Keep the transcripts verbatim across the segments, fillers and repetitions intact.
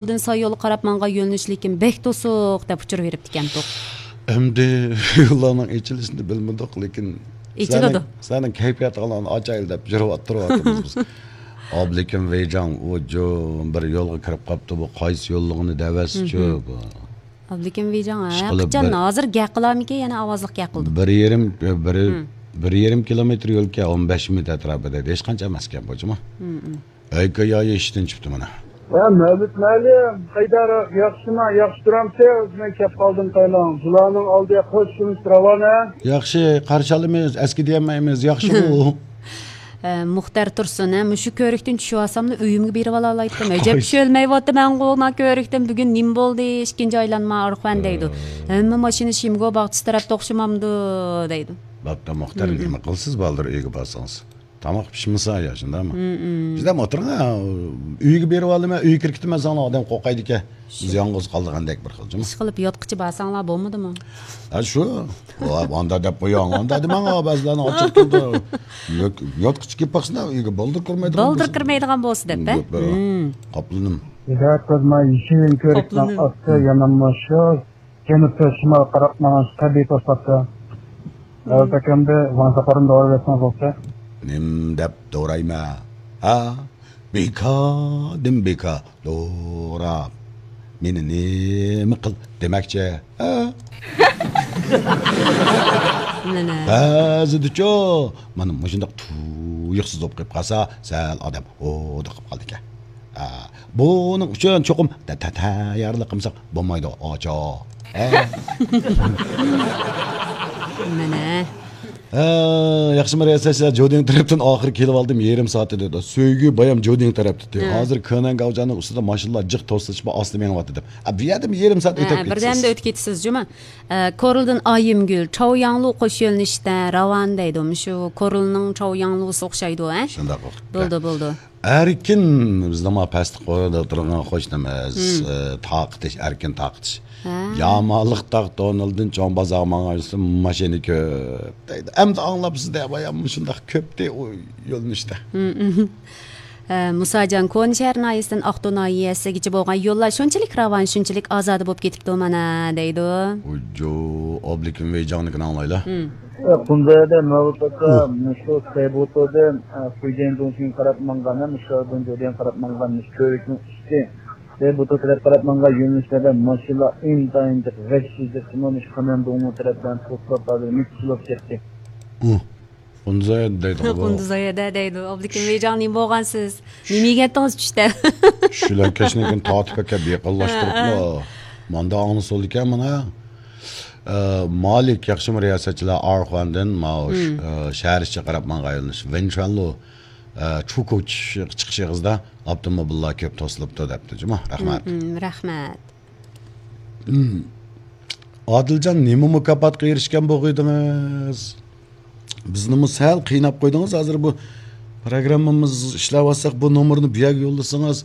يولدىن ساي يولغا قاراپ ماڭغان يۆنىلىش لېكىن بەك توسۇق دەپ ئۇچۇر بېرىپتىكەنتۇق. ئەمدى يوللارنىڭ ئېچىلىشىنى بىلمىدۇق، لېكىن ئېچىلىدۇ. سەنىڭ، سەنىڭ كەيپىياتىڭلارنى ئاچايلى دەپ يۈرۈۋاتتۇرۇۋاتىمىز بىز. ئابلىكىم ۋېيجاڭ، ئۇ جو-، بىر يولغا كىرىپ قاپتۇ، بۇ قايسى يوللۇقىنى دەۋەتسىچۇ، بۇ. ئابلىكىم ۋېيجاڭ، ھە، ئىشقىلىپ قاچان بىر ھازىر گەپ قىلارمىكىن، يەنە ئاۋازلىق گەپ قىلدى. بىر يېرىم، بىر، بىر يېرىم كىلومېتىر يولكەن، ئون بەش مىنۇت ئەتراپىدا، ھېچقانچە ئەمەسكەن بۇ جۇمۇ. ئەيكا يايى ئىشتىن چىقتى مانا. ۋە مەۋلۇت مۇئەللىم، قايداراق، ياخشىما، ياخشى تۇرامسىز؟ مەن كەپ قالدىم قايلاڭ. بۇلارنىڭ ئالدىغا قوشۇلۇش راۋانە. ياخشى، قارشى ئالىمىز، ئەسكى دېيەلمەيمىز، ياخشىغۇ. ئە، مۇختەر تۇرسۇن، ھە، مۇشۇ كۆرۈكتىن چۈشۈۋالساملا ئۆيۈمگە بېرىۋالالايتتىم. ئەجەب قايسى؟ چۈشۈۋالمايۋاتىمەنغۇ، ما كۆرۈكتىن بۈگۈن نېمە بولدى؟ ئىككىنچى ئايلانما ئارخۇەن دەيدۇ. ھە. ھەممە ماشىنا شىمگو باغچىسى تەرەپتە ئوخشىمامدۇ دەيدۇ. بوپتۇ، مۇختەر، مم. نېمە قىلىسىز، بالدۇر ئۆيگە بارسىڭىز؟ تاماق پىشمىسا يا، شۇنداقمۇ؟ مم، مم. شۇنداقمۇ ئولتۇرۇڭ، ھە، ئۆيگە بېرىۋالىمەن، ئۆيگە كىرىپ كېتىمەن، ساڭا ئادەم قورقايدىكەن. شۇ. بىز يالغۇز قالىدىغاندەك بىر خىل جۇمۇ. ئىشقىلىپ ياتقۇچە بارساڭلار بولمىدىمۇ؟ ھە، شۇ. ۋاي، ئاندا دەپ قويۇڭ، ئاندا دېمەڭ، ھە، بەزىلەرنىڭ ئاچچىق كېلىدۇ. يات-، ياتقۇچە كېلىپ باقسىنا، ئۆيگە بالدۇر كىرمەيدىغان بالدۇر بولسا. كىرمەيدىغان بولسا دەپ، ھە؟ يوق، بەرۋە. مم. قاپلىنىم. يېشىل كۆرۈكنىڭ قاپلىنىم. ئاستى يانىمۇ شۇ. جەنۇبتىن شىمالغا قاراپ ماڭغان تەبىئىي توساتتى. ھازىر ئەمدى ۋاڭزاقارنى دورىۋەتسىڭىز بولسا. نېمە دەپ دورايمەن؟ ھە؟ بىكاردىن بىكار دوراپ، مېنى نېمە قىل دېمەكچى؟ ھە؟ مانا. بەزىدىچۇ، مانا مۇشۇنداق تۇيۇقسىز بولۇپ قېلىپ قالسا، سەل ئادەم ھودۇقۇپ قالىدىكەن. ھە، بۇنىڭ ئۈچۈن چوقۇم تە-، تە-، تەييارلىق قىلمىساق بولمايدۇ، ئاچا. ھە؟ مانا. ھە، ياخشىمۇ رىياسەتچىلەر، جودىڭ تەرەپتىن ئاخىرى كېلىۋالدىم، يېرىم سائەت دېدى. سۆيگۈ بايام جودىڭ تەرەپتە. ھە. ھازىر كېنەن گاۋجاننىڭ ئۈستىدە ماشىنىلار جىق توسۇلۇشۇپ ئاستا مېڭىۋاتىدۇ. ئە، بۇ يەردىمۇ يېرىم سائەت ھە، ئۆتۈپ بىردەمدە كېتىسىز. ئۆتۈپ كېتىسىز جۇمۇ. ئە، كورلىدىن ئايىمگۈل، چاۋياڭلۇ قوش يۆنىلىشتە راۋان دەيدۇ. مۇشۇ كورلىنىڭ چاۋياڭلۇسى ئوخشايدۇ، ھە؟ شۇنداق ئوخشايدۇ. بولدى، بولدى. ئەركىن، بىزنىڭ ما پەستە قورۇدا ئولتۇرغان قوشنىمىز، مم. ئە، تارقىتىش، ئەركىن تارقىتىش. ھە. يامانلىق تاغ تونۇلدىن چوڭ بازارغا ماڭغان ماشىنا كۆپ دەيدۇ. ئەمدى ئاڭلاپسىز دە، بايام مۇشۇنداق كۆپتى ئۇ يۆنىلىشتە. مم، مم. ئە، مۇساجان، كونا شەھەر ناھىيەسىدىن ئاقتۇ ناھىيەسىگىچە بولغان يوللار شۇنچىلىك راۋان، شۇنچىلىك ئازادە بولۇپ كېتىپتۇ مانا، دەيدۇ. ئۇجۇ، ئابلىكىم ۋېيجاڭنىڭكىنى ئاڭلايلا. مم. ئە، قۇنزايەدە مەۋلۇت ئاكا، مۇشۇ سەيبۇتۇدىن، ئە، فۇيجيەن دۇڭشىڭغا قاراپ ماڭغان، ھەم شادۇن جودىيەنغا قاراپ ماڭغان، مۇشۇ كۆۋرۈكنىڭ ئۈستى. سەيبۇتۇ تەرەپ قاراپ ماڭغان يۆنىلىشلەردە ماشىنىلار ئىنتايىن جىق، ۋەھشىي جىق، مۇشۇ خېنەن دۇڭمۇ تەرەپلەرنى توسۇپ، ھازىر مىكسىلوپ كەتتى. ئۇ، قۇنزايەدە دەيدىغۇ بۇ. قۇنزايەدە دەيدۇ. ئابلىكىم ۋېيجاڭ، نېمە بولغانسىز؟ نېمە يېگەنتىڭىز چۈشتە؟ چۈشلەنكەشنىڭكىنى تارتىپ ئەكەپ، يېقىنلاشتۇرۇپلا. ھە، ھە. ماندا ئاڭلىسا بولىدىكەن مانا. ئە، مالىك، ياخشىمۇ رىياسەتچىلەر؟ ئارخۇاندىن ماۋۇ، مم. ئە، شەھەر ئىچىگە قاراپ ماڭغان يۆنىلىش. ۋېنچۈەنلۇ، ئە، چۇكۇچ چىقىش ئېغىزىدا ئاپتوموبىللار كۆپ توسۇلۇپتۇ دەپتۇ جۇمۇ. رەھمەت. مم، مم، رەھمەت. مم. ئادىلجان، نېمە مۇكاپاتقا ئېرىشكەن بولغىيدىڭىز؟ بىزنىمۇ سەل قىيناپ قويدىڭىز. ھازىر بۇ پروگراممىمىز ئىشلەۋاتساق، بۇ نومۇرنى بۇ يەرگە يوللىسىڭىز،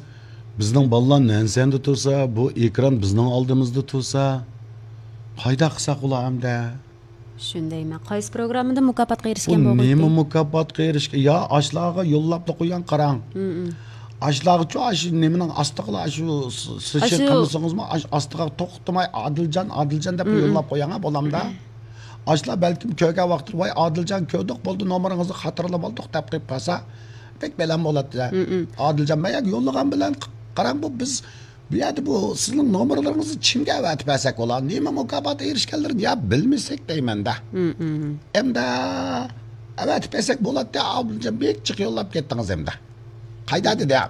بىزنىڭ بالىلار نەنسەندە تۇرسا، بۇ ئېكران بىزنىڭ ئالدىمىزدا تۇرسا، قايداق قىلساق بولا ئەمدى؟ شۇندايمەن. قايسى پروگراممىدا مۇكاپاتقا بۇ ئېرىشكەن بولغىيتتى؟ نېمە مۇكاپاتقا ئېرىشكەن؟ يا ئاشلارغا يوللاپلا قويۇڭ، قاراڭ. مم، مم. ئاشلارغىچۇ، ئاشۇ نېمىنىڭ ئاستىغىلا، ئاشۇ س-، سىشىر ئاشۇ قىلمىسىڭىزمۇ، ئاش-، ئاستىغا توختىماي «ئادىلجان، ئادىلجان» دەپ مم، مم. يوللاپ قويۇڭ، ھە، بولامدا. ئاشۇلار بەلكىم كۆرگەن ۋاقىتتا، «ۋاي، ئادىلجان كۆردۇق، بولدى، نومۇرىڭىزنى خاتىرىلىۋالدۇق» دەپ قويۇپ قالسا، بەك بەلەن بولاتتى. مم، مم. ئادىلجان، مەن يوللىغان بىلەن، قاراڭ، بۇ بىز، بۇ يەردە بۇ سىزنىڭ نومۇرلىرىڭىزنى كىمگە ئەۋەتىپ بەرسەك بولا؟ نېمە مۇكاپات ئېرىشكەنلىرىنى يا بىلمىسەك دەيمەن-دە. مم، مم. ئەمدى ئەۋەتىپ بەرسەك بولاتتى، ئادىلجان بەك جىق يوللاپ كەتتىڭىز ئەمدى. قايدا دېدى؟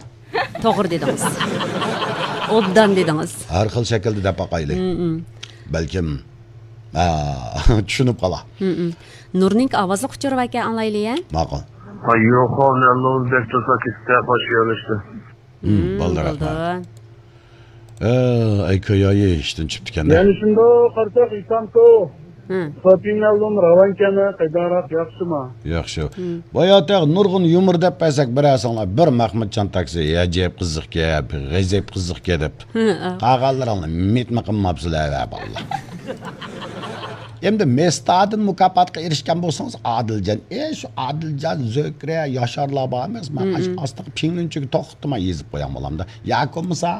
توغرا دېدىڭىز. ئوبدان دېدىڭىز. ھەر خىل شەكىلدە دەپ باقايلى. مم، مم. بەلكىم، ھە، چۈشىنىپ قالا. مم، مم. نۇرنىڭكى ئاۋازلىق ئۇچۇرى باركەن، ئاڭلايلى، يە. ماقۇل. ھە، يوق، نەللۇز بەك تۇرسا كېتىپتە، باش يۆنىلىشتە. مم، مم، بولدى، بولدى. رەھمەت. ئە، ئەي كۆيايى ئىشتىن چۈشۈپتىكەن-دە. يەنە شۇنداق قارىساق، ئىسامكو. ھە. سوپىنەلدىن راۋانكەنە قايداراق ياخشىما؟ ياخشى. ھە. باياتەق نۇرغۇن يۇمۇر دەپ بەرسەك بىرەرسىڭلار، بىر مەخمۇتجان تاكسى، ئەجەب قىزىقكەن، غەجەپ قىزىقكەن دەپ. ھە، ھە. قالغانلىرىڭلار مىتمۇ قىلماپسىلەر، ۋە بالىلار. ئەمدى مېستادىن مۇكاپاتقا ئېرىشكەن بولسىڭىز، ئادىلجان، ئە، شۇ ئادىلجان، زۆھرە، ياشارلار بار ئەمەسمۇ؟ ھە، ئاشۇ ھە. ئاستىغا پىڭلىنچۈكى توختىماي يېزىپ قويۇڭ، بولامدا. ياكى بولمىسا،